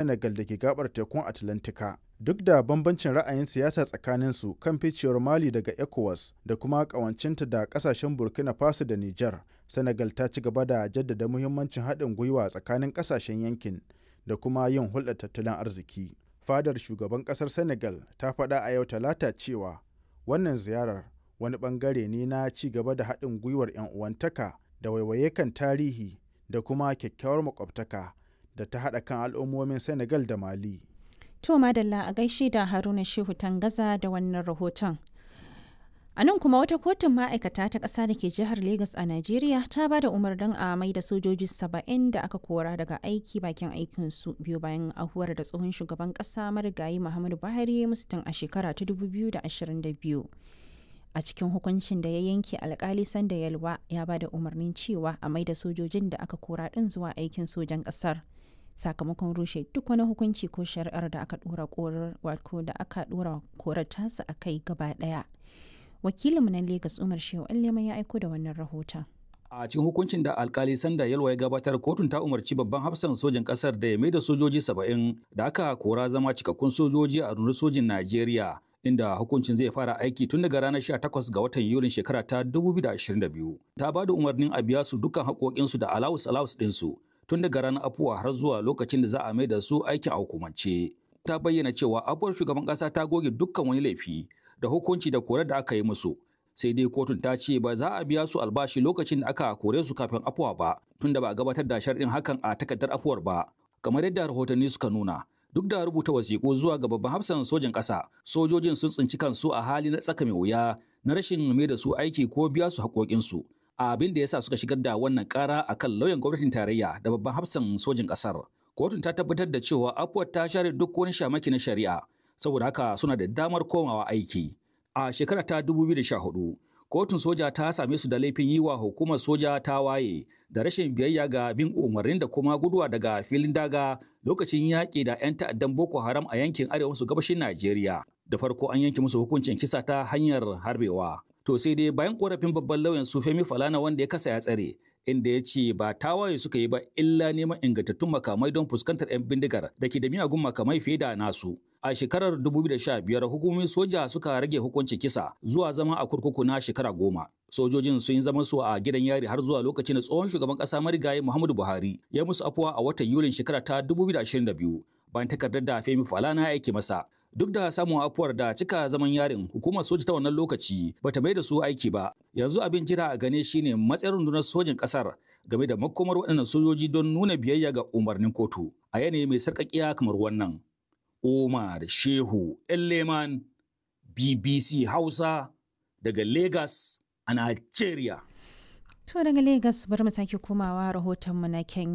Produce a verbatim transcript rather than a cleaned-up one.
Senegal da ke gaɓar tekun Atlantika, duk da bambancin ra'ayin siyasa tsakaninsu kan ficewar Mali daga ECOWAS da kuma ƙawancinta da ƙasashen Burkina Faso da Nijar, Senegal ta ci gaba da jaddada muhimmancin haɗin gwiwa tsakanin ƙasashen yankin da kuma yin hulɗar tattalin arziki. Fadar Shugaban ƙasar Senegal ta faɗa a yau Talata cewa wannan ziyarar wani ɓangare ne na ci gaba da haɗin gwiwar 'yan uwantaka da waiwaye kan tarihi da kuma kyakkyawar makwabtaka da ta haɗa kan al'ummomin Senegal da Mali. To madalla a gaishe da Haruna Shehu Tangaza da wannan rahoton. A nan kuma wata kotun ma'aikata ta ƙasa da ke jihar Legas a Najeriya ta ba da umarnin a mai da sojoji saba'in da aka kora daga aiki bakin aikinsu biyu bayan ahuwar da tsohon shugaban ƙasa marigayi Muhammadu Buhari musu tun a shekara ta dubu biyu da ashirin da biyu. A cikin hukuncin da ya yanke, alkali Sanda Yalwa ya ba da umarnin cewa a mai da sojojin da aka kora ɗin zuwa aikin sojan ƙasar, sakamakon rushe duk wani hukunci ko shari'ar da aka dora korar wato da aka dora korar tasa a kai gaba daya. Wakilinmu na Lagos, Umar Shehu Allema, ya aiko da wannan rahoton. A cikin hukuncin da alkali Sanda Yalwa ya gabatar, kotun ta umarci babban hafsan sojin kasar da ya maida sojoji saba'in da aka kora zama cikakkun sojoji a rundunar sojin Najeriya, inda hukuncin zai fara aiki tun daga ranar sha takwas ga watan Yulin shekara ta dubu biyu da ashirin da biyu. Ta ba da umarnin a biya su dukkan haƙoƙinsu da alawus alawus ɗinsu tun daga ranar afuwa har zuwa lokacin da za a maida su aikin a hukumance. Ta bayyana cewa afuwar shugaban ƙasa ta goge dukkan wani laifi da hukunci da korar da aka yi musu. Sai dai kotun ta ce ba za a biya su albashi lokacin da aka kore su kafin afuwa ba, tunda ba a gabatar da sharɗin hakan a takardar afuwar ba. Kamar yadda rahotanni suka nuna, duk da rubuta wasiƙu zuwa ga babban hafsan sojin ƙasa, sojojin sun tsinci kansu a hali na tsaka mai wuya na rashin mai da su aiki ko biya su haƙoƙinsu. Abin da yasa suka shigar da wannan ƙara akan lauyan gwamnatin tarayya da babban hafsan sojin ƙasar. Kotun ta tabbatar da cewa afuwar ta share duk wani shamaki na shari'a, saboda haka suna da damar komawa aiki. A shekara ta dubu biyu da sha hudu, kotun soja ta same su da laifin yi wa hukumar soja ta waye da rashin biyayya ga bin umarnin da kuma guduwa daga filin daga lokacin yaƙi da 'yan ta'addan Boko Haram a yankin arewa maso gabashin Najeriya. Da farko an yanke musu hukuncin kisa ta hanyar harbewa. To sai dai bayan korafin babban lauyan su Femi Falana, wanda ya kasa ya tsare, inda ya ce ba tawaye suka yi ba illa neman ingantattun makamai don fuskantar 'yan bindigar da ke da miyagun makamai fiye da nasu. A shekarar dubu biyu da sha biyar hukumomin soja suka rage hukuncin kisa zuwa zama a kurkuku na shekara goma. Sojojin sun yi zaman su a gidan yari har zuwa lokacin da tsohon shugaban kasa marigayi Muhammadu Buhari ya musu afuwa a watan Yulin shekara ta dubu biyu da ashirin da biyu, bayan takardar da Femi Falana ya aike masa. Duk da samun afuwar da cika zaman yarin, hukumar soja ta wannan lokaci bata mai da su aiki ba. Yanzu abin jira a gane shine matsayin rundunar sojin kasar game da makomar waɗannan sojoji don nuna biyayya ga umarnin kotu a yanayi mai sarƙaƙiya kamar wannan. Umar Shehu Elleman, B B C Hausa, daga Lagos a Nigeria. To daga Lagos bari mu sake komawa rahotonmu na Kenya.